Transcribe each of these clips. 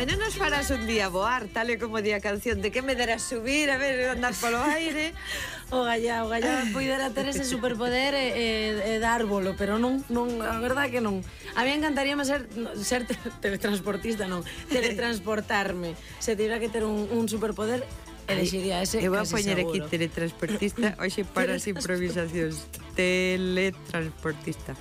Ai, non nos farás un día voar, tal e como di a canción, de que me deras subir, a ver, andar polo aire. O gallá poidera ter ese superpoder e dar bolo, pero non, a verdade que non. A mí encantaríame ser teletransportista, non, teletransportarme. Se tivera que ter un superpoder, elegiría ese. Eu vou a casi poñer seguro. aquí teletransportista, hoxe para as improvisacións. Teletransportista.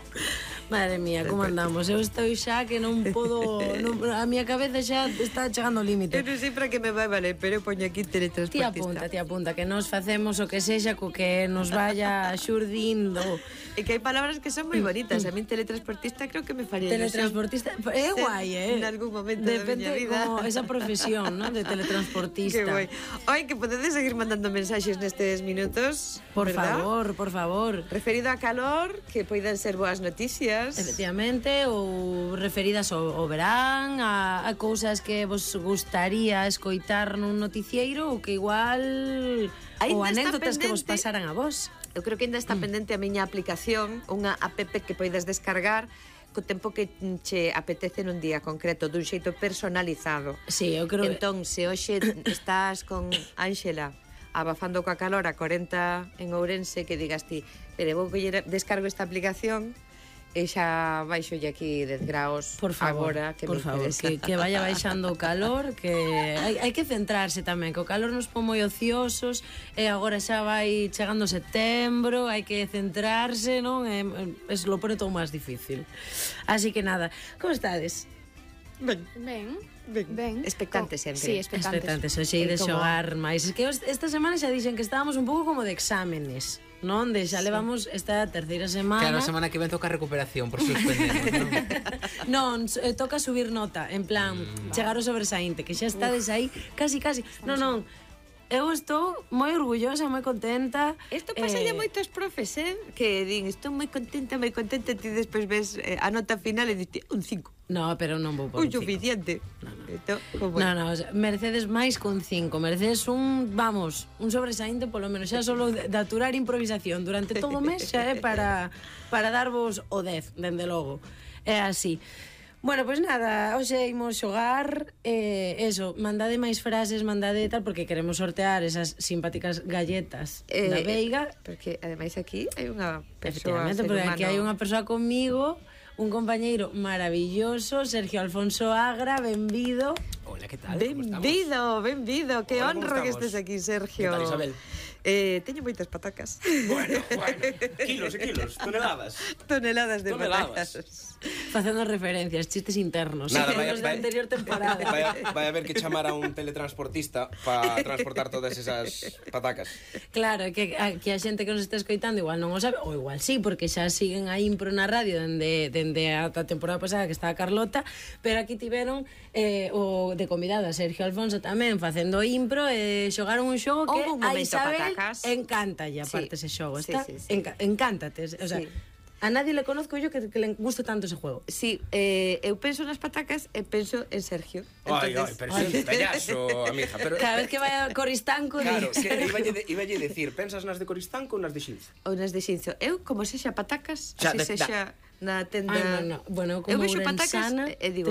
Madre mía, como andamos? Eu estou xa que non podo, a miña cabeza xa está chegando ao límite. Eu non sei para que me vai valer, pero eu poño aquí teletransportista. Ti apunta, que nos facemos o que sexa co que nos vaya xurdindo. E que hai palabras que son moi bonitas. A min teletransportista creo que me faría Teletransportista, é guai, en algún momento da miña vida. Como esa profesión, ¿no? De teletransportista. Que guai. Oi, que podedes seguir mandando mensaxes nestes minutos, Por ¿verdad? favor. Referido a calor, que poidan ser boas noticias. Efectivamente, ou referidas ao verán, a cousas que vos gustaría escoitar nun noticieiro ou que igual ou anécdotas que vos pasaran a vos. Eu creo que ainda está pendente a miña aplicación, unha app que poidas descargar co tempo que che apetece nun día concreto, dun xeito personalizado. Sí, eu creo. Entón, se hoxe estás con Ángela abafando coa calor a 40 en Ourense, que digas ti, pero vou coller, descargo esta aplicación e xa baixolle aquí 10 graus. Por favor, agora, que por favor, que vaya baixando o calor, que hai que centrarse tamén, que o calor nos pon moi ociosos e agora xa vai chegando setembro, hai que centrarse, non? Es lo pone todo máis difícil. Así que nada, como estades? Ben. Expectantes sempre. Sí, expectantes. Hoxe de xogar máis. Es que esta semana xa dixen que estábamos un pouco como de exámenes, non? De xa levamos esta terceira semana. Claro, a semana que ven toca recuperación, por suspendemos, non? Non, toca subir nota, en plan, chegar ao sobresaínte, que xa estades aí casi. Non, eu estou moi orgullosa, moi contenta. Isto pasa a moitos profes, que din, estou moi contenta, ti despois ves a nota final e dite un 5. No, pero non vou por un suficiente. No, merecedes máis con 5. Merecedes un sobresaínte, polo menos xa solo de aturar improvisación durante todo o mes xa é para darvos o 10, dende logo. É así. Bueno, pois nada, hoxe imos xogar, eso, mandade máis frases, mandade tal, porque queremos sortear esas simpáticas galletas da Veiga. Porque, ademais, aquí hai unha persoa, efectivamente, porque aquí hai unha persoa comigo, un compañeiro maravilloso, Sergio Alfonso Agra, benvido. Hola, que tal? Benvido, que honra que estés aquí, Sergio. Que tal, Isabel? Teño moitas patacas. Bueno, kilos e kilos, toneladas. Toneladas de patacas. Facendo referencias, chistes internos. Nada, da anterior temporada. Vai haber que chamar a un teletransportista para transportar todas esas patacas. Claro, que a xente que nos está escoitando igual non o sabe, ou igual sí, porque xa siguen a impro na radio dende a temporada pasada que estaba Carlota, pero aquí tiveron o de convidada Sergio Alfonso tamén facendo impro e xogaron un xogo que a Isabel encántalle aparte ese xogo, está? Encántate, o sea, a nadie le conozco yo que le guste tanto ese juego. Sí, eu penso nas patacas e penso en Sergio. Ai, pero é un payaso, amiga. Cada vez que vai a Coristanco... Claro, iballe decir, pensas nas de Coristanco ou nas de Xinzo? Ou nas de Xinzo. Eu, como sexa patacas, así sexa na tenda... Bueno, eu como ourensana... E digo,